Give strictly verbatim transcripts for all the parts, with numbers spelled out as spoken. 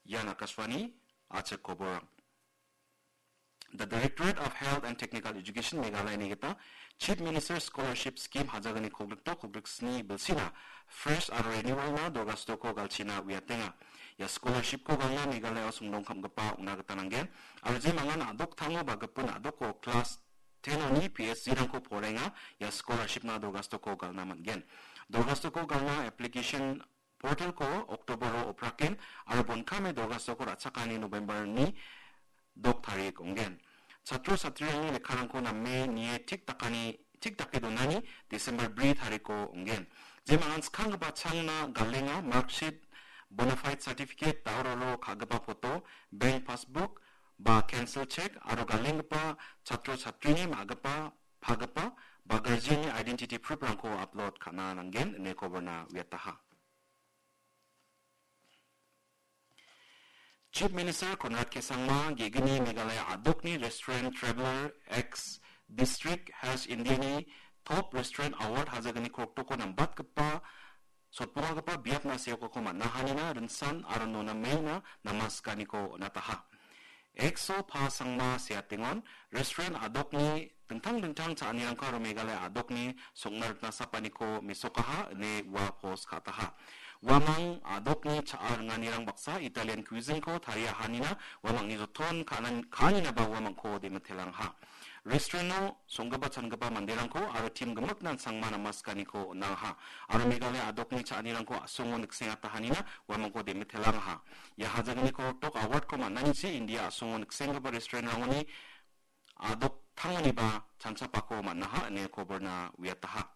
Ian Akashvani, achik koborang. The Directorate of Health and Technical Education Meghalaya-ni gita Chief Minister Scholarship Scheme hajagni koglikto koglik sni bilsina fresh aro renewal-na dorgastoko galchina uiatenga. Ia scholarship-ko galna Meghalaya-o songdongkamgipa ong·na gita nanggen. Aro je mangan a·doktango ba gipin a·doko class ten-oni P S C-rangko porenga, ia scholarship-na dorgastoko galna man·gen. Dorgastoko galna application portal-ko October-o opraken aro bonkame dorgastoko ra·chakani November-ni dok tarik ong·gen. Chatro chatrirangni lekkarangko name nie tik dakani, tik dake donani December bri tariko ong·gen. Jemangan skanggipa changna galenga marksheet, bona fide certificate, daororo ka·gipa photo, bank passbook, ba cancel check aro galenggipa chatro chatrini ma·gipa, pagipa, ba guardian-ni identity proof-rangko upload ka·na nanggen ine koborna uiataha. Chief Minister Conrad K Sangma ge·gni Meghalaya a·dokni Restaurant Traveller X District Health India-ni Top Restaurant Award hajagni kroktoko nambatgipa sotpongagipa biapna seokako man·a hanina rinsan aro nona meina namaskaniko on·ataha. X-o Pa Sangma seatengon restaurant a·dokni dingtang dingtang cha·anirangko aro Meghalaya a·dokni sokna rikna sapaniko mesokaha ine ua post ka·ataha. Uamang a·dokni cha·a ringanirang baksa Italian cuisine-ko tariahanina uamangni joton ka·anan-, ka·aninaba uamangko demitelangaha. Restaurant-o songgipa changipa manderangko aro team gimiknan Sangma namaskaniko on·angaha. Aro Meghalaya a·dokni cha·anirangko a·songo niksengatahanina uamangko demitelangaha. Ia hajagniko tok award-ko man·anichi India a·songo niksenggipa restaurant-rangoni a·doktangoniba chanchapako man·aha ine koborna uiataha.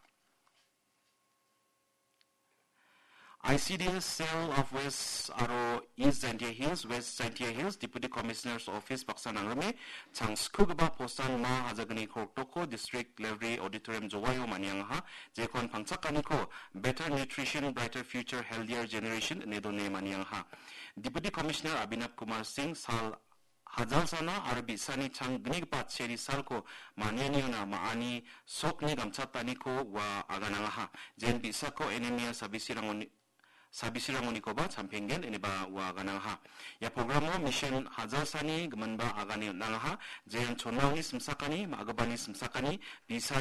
I C D S Cell of West aro East Jaintia Hills, West Jaintia Hills Deputy Commissioner's Office baksa nangrime changskugipa postan ma hajagni kroktoko District Library Auditorium Jowaio maniangaha, jekon pangchakaniko Better Nutrition, Brighter Future, Healthier Generation ine done maniangaha. Deputy Commissioner Abhinav Kumar Singh sal hajalsana aro bi·sani chang gnigipa cheri salko manianiona ma·ani sokni gamchataniko ua aganangaha. Jen bi·sako anemia sabisirangoni-, sabisirangonikoba champenggen ineba ua aganangaha. Ia programo mission hajalsani giminba agane on·angaha. Jen chonmaoni simsakani, ma·gipani simsakani, bi·sa